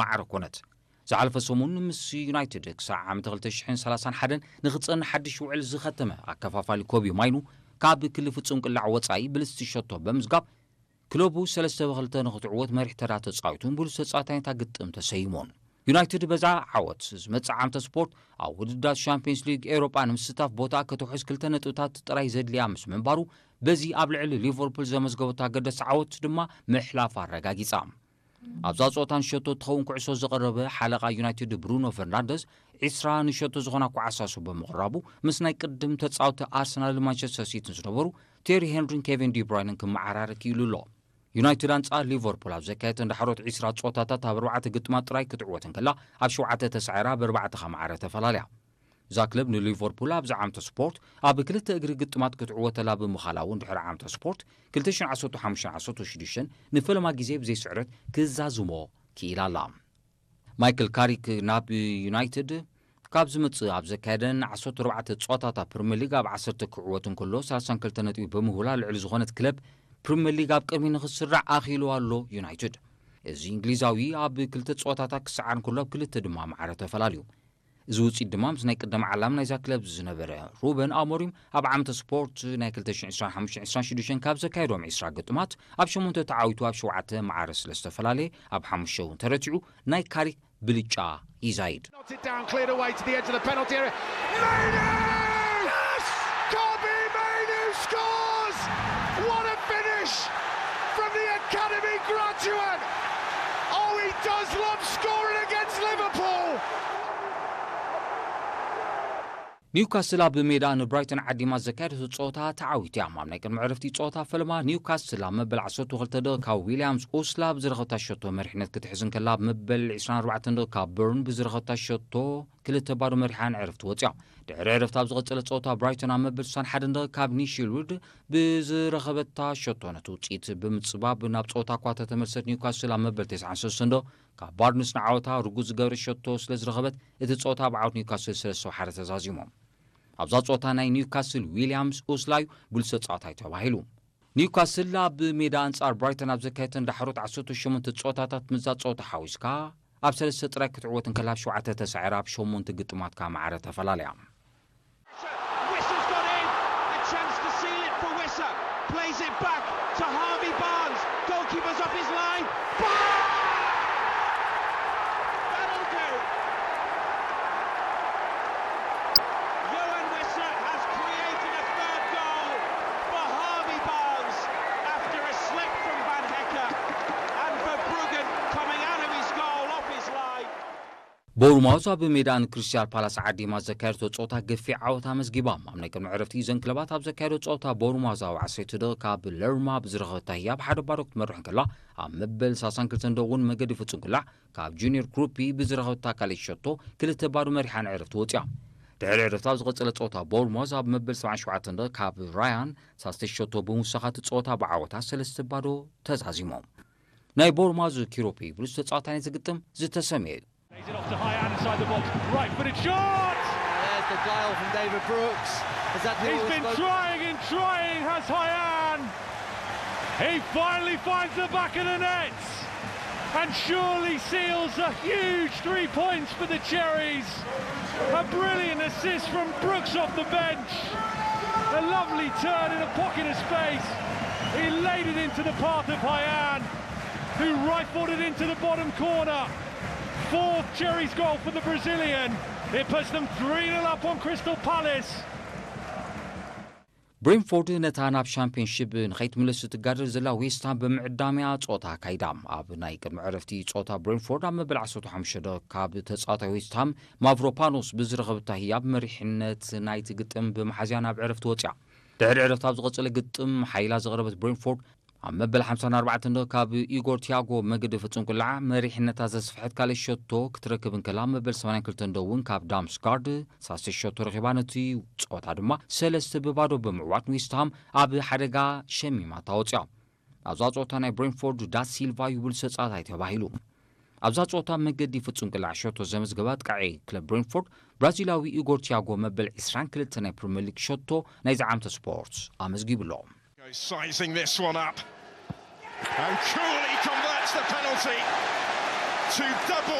ማዕረ ኮነት። ዝሓለፈ ሰሙን ምስ ዩናይትድ ክሳዕ ዓመት ክልተ ሽሕን ሰላሳን ሓደን ንኽጸንሕ ሓድሽ ውዕል ዝኸተመ ኣከፋፋሊ ኮቢ ማይኑ፣ ካብ ክሊ ፍጹም ቅላዕ ወጻኢ ብልስቲ ሸቶ ብምዝጋብ፣ ክለቡ ሰለስተ ብክልተ ንኽትዕወት መሪሕ ተራ ተጻዊቱን ብሉጽ ተጻዋታይ ናይታ ግጥም ተሰይሙን። ዩናይትድ በዛ ዓወት ዝመጽእ ዓመተ ስፖርት ኣብ ውድድራት ሻምፒዮንስ ሊግ ኤውሮጳ ንምስታፍ ቦታ ከተውሕስ ክልተ ነጥብታት ጥራይ ዘድልያ ምስ ምንባሩ፣ በዚ ኣብ ልዕሊ ሊቨርፑል ዘመዝገበቶ ኣገዳሲ ዓወት ድማ ምሕላፍ ኣረጋጊጻ። ኣብዛ ጸወታ ንሸቶ እትኸውን ኩዕሶ ዘቕረበ ሓለቓ ዩናይትድ ብሩኖ ፈርናንደዝ፣ ዒስራ ንሸቶ ዝኾና ኳዕሳሱ ብምቕራቡ፣ ምስ ናይ ቅድም ተጻወቲ ኣርሰናልን ማንቸስተር ሲቲን ዝነበሩ ቴሪ ሄንሪን ኬቪን ዲብራይንን ክመዓራረ ክኢሉ ኣሎ። ዩናይትድ ኣንጻር ሊቨርፑል ኣብ ዘካየደተን ዳሕሮት ዒስራ ጸወታታት ኣብ ኣርባዕተ ግጥማት ጥራይ ክትዕወት እንከላ፣ ኣብ ሸውዓተ ተሳዒራ ብኣርባዕተ ከማዕረ ተፈላልያ። እዛ ክለብ ንሊቨርፑል ኣብዚ ዓመተ ስፖርት ኣብ ክልተ እግሪ ግጥማት ክትዕወተላ ብምኻላ እውን ድሕሪ ዓመተ ስፖርት ክልተ ሽሕን ዓሰርተ ሓሙሽተን ዓሰርተ ሽዱሽተን ንፈለማ ግዜ ብዘይ ስዕረት ክዛዝሞ ክኢላ ኣላ። ማይክል ካሪክ ናብ ዩናይትድ ካብ ዝመጽእ ኣብ ዘካየደን ዓሰርተ ኣርባዕተ ጸወታታት ፕሪምየር ሊግ ኣብ ዓሰርተ ክዕወት እንከሎ ሰላሳን ክልተ ነጥቢ ብምሁላ ልዕሊ ዝኾነት ክለብ ፕሪምየር ሊግ ኣብ ቅድሚ ንኽስራዕ ኣኽኢሉ ኣሎ ዩናይትድ። እዚ እንግሊዛዊ ኣብ ክልተ ጸወታታት ክሰዓር እንከሎ ኣብ ክልተ ድማ ማዕረ ተፈላልዩ። እዚ ውጽኢት ድማ ምስ ናይ ቅደም ዓላም ናይዛ ክለብ ዝነበረ ሩበን ኣሞሪም ኣብ ዓመተ ስፖርት ናይ ክልተ ሽሕን ዕስራን ሓሙሽተን ዕስራን ሽዱሽተን ካብ ዘካየዶም ዒስራ ግጥማት ኣብ ሸሞንተ ተዓዊቱ ኣብ ሸውዓተ ማዕረ ስለ ዝተፈላለየ ኣብ ሓሙሽተ እውን ተረቲዑ ናይ ካሪክ ብልጫ ይዛይድ። Knocks it down, cleared away to the edge of the penalty area. Mainoo! Yes! Kobbie Mainoo scores! What a finish from the academy graduate! Oh, he does love scoring against Liverpool! ኒውካስል ኣብ ሜዳ ንብራይተን ዓዲማ ዘካየደቶ ጸወታ ተዓዊቱ እያ። ኣብ ናይ ቅድሚ ዕረፍቲ ጸወታ ፈለማ ኒውካስል ኣብ መበል ዓሰርተ ክልተ ደቂቃ ካብ ዊልያምስ ኡስላ ብዝረኸብታ ሸቶ መሪሕነት ክትሕዝ እንከላ፣ ኣብ መበል ዕስራን ኣርባዕተን ደቂቃ ካብ በርን ብዝረኸብታ ሸቶ ክልተ ባዶ መሪሓ ንዕረፍቲ ወጽያ። ድሕሪ ዕረፍቲ ኣብ ዝቐጸለ ጸወታ ብራይተን ኣብ መበል ስሳን ሓደን ደቂቃ ካብ ኒሺልውድ ብዝረኸበታ ሸቶ ነቲ ውጽኢት ብምጽባብ ናብ ጸወታ እኳ ተተመልሰት፣ ኒውካስል ኣብ መበል ተስዓን ሰለስተን ደቂቃ ካብ ባርንስ ንዓወታ ርጉዝ ዝገበረ ሸቶ ስለ ዝረኸበት፣ እቲ ጸወታ ብዓወት ኒውካስል ሰለስተ ብሓደ ተዛዚሙ። ኣብዛ ጸወታ ናይ ኒውካስል ዊልያምስ ኡስላ እዩ ብሉጽ ተጻዋታይ ተባሂሉ። ኒውካስል ኣብ ሜዳ ኣንጻር ብራይተን ኣብ ዘካየደተን ዳሕሮት ዓሰርተ ሸሞንተ ጸወታታት ምስዛ ጸወታ ሓዊስካ ኣብ ሰለስተ ጥራይ ክትዕወት እንከላ፣ ኣብ ሸውዓተ ተሳዒራ ኣብ ሸሞንተ ግጥማት ከኣ ማዕረ ተፈላለያ። Whistle's gone in, a chance to seal it for Wissa. Plays it back to Harvey Barnes. Goalkeeper's off his line. Barnes! That'll do. Johan Wissa has created a third goal for Harvey Barnes after a slip from Van Hecke and Verbruggen coming out of his goal off his line. ቦርማውዝ ኣብ ሜዳ ንክሪስታል ፓላስ ዓዲማ ዘካየደቶ ጸወታ ገፊሕ ዓወት ኣመዝጊባ። ኣብ ናይ ቅድሚ ዕረፍቲ እዘን ክለባት ኣብ ዘካየዶ ጸወታ ቦርማውዝ ኣብ ዓሰርተ ደቂቃ ካብ ለርማ ብዝረኸበታ ህያብ ሓደ ባዶ ክትመርሕ እንከላ፣ ኣብ መበል ሰላሳን ክልተን ደቂቕ እውን መገዲ ፍጹም ቅላዕ ካብ ጁኒየር ክሩፒ ብዝረኸበታ ካልኣይቲ ሸቶ ክልተ ባዶ መሪሓ ንዕረፍቲ ወጽያ። ድሕሪ ዕረፍቲ ኣብ ዝቐጸለ ጸወታ ቦርማውዝ ኣብ መበል ሰብዓን ሸውዓተን ደቂቕ ካብ ራያን ሳስተይቲ ሸቶ ብምውሳኻት ጸወታ ብዓወታ ሰለስተ ባዶ ተዛዚሞም። ናይ ቦርማውዝ ኪሮፒ ብሉጽ ተጻዋታይ ናይ ዝግጥም ዝተሰምየ እዩ። Lays it off to Hyan inside the box. Right footed shot! There's the guile from David Brooks. Has had the He's been trying and trying, has Hyan. He finally finds the back of the net and surely seals a huge three points for the Cherries. A brilliant assist from Brooks off the bench. A lovely turn in a pocket of space. He laid it into the path of Hyan, who rifled it into the bottom corner. Fourth Cherries goal for the Brazilian. It puts them three nil up on Crystal Palace. ብሬንፎርድ ነታ ናብ ሻምፒዮንሺፕ ንኸይትምለስ እትጋደል ዘላ ዌስትሃም ብምዕዳምያ ጸወታ ኣካይዳ። ኣብ ናይ ቅድሚ ዕረፍቲ ጸወታ ብሬንፎርድ ኣብ መበል ዓሰርተ ሓሙሽተ ካብ ተጻዋታይ ዌስትሃም ማቭሮፓኖስ ብዝረኸበታ ህያብ መሪሕነት ናይቲ ግጥም ብምሓዝያ ናብ ዕረፍቲ ወጽያ። ድሕሪ ዕረፍቲ ኣብ ዝቐጸለ ግጥም ሓይላ ዘቕረበት ብሬንፎርድ ኣብ መበል ሓምሳን ኣርባዕተን ካብ ኢጎር ቲያጎ መገዲ ፍጹም ቅላዕ መሪሕነታ ዘስፍሐት ካልእ ሸቶ ክትረክብ እንከላ፣ መበል ሰማንያን ክልተን እውን ካብ ዳምስጋርድ ሳልሰይቲ ሸቶ ረኺባ ነቲ ጸወታ ድማ ሰለስተ ብባዶ ብምዕዋት ንዌስትሃም ኣብ ሓደጋ ሸሚማታ ወጽያ። ኣብዛ ጸወታ ናይ ብሬንፎርድ ዳሲልቫ እዩ ብሉጽ ተጻዋታይ ተባሂሉ። ኣብዛ ጸወታ መገዲ ፍጹም ቅላዕ ሸቶ ዘመዝገባ ኣጥቃዒ ክለብ ብሬንፎርድ ብራዚላዊ ኢጎር ቲያጎ መበል ዕስራን ክልተን ናይ ፕሪምየር ሊግ ሸቶ ናይዚ ዓመተ ስፖርት ኣመዝጊቡ ኣሎ። Goes sizing this one up. And Cooley converts the penalty. Two double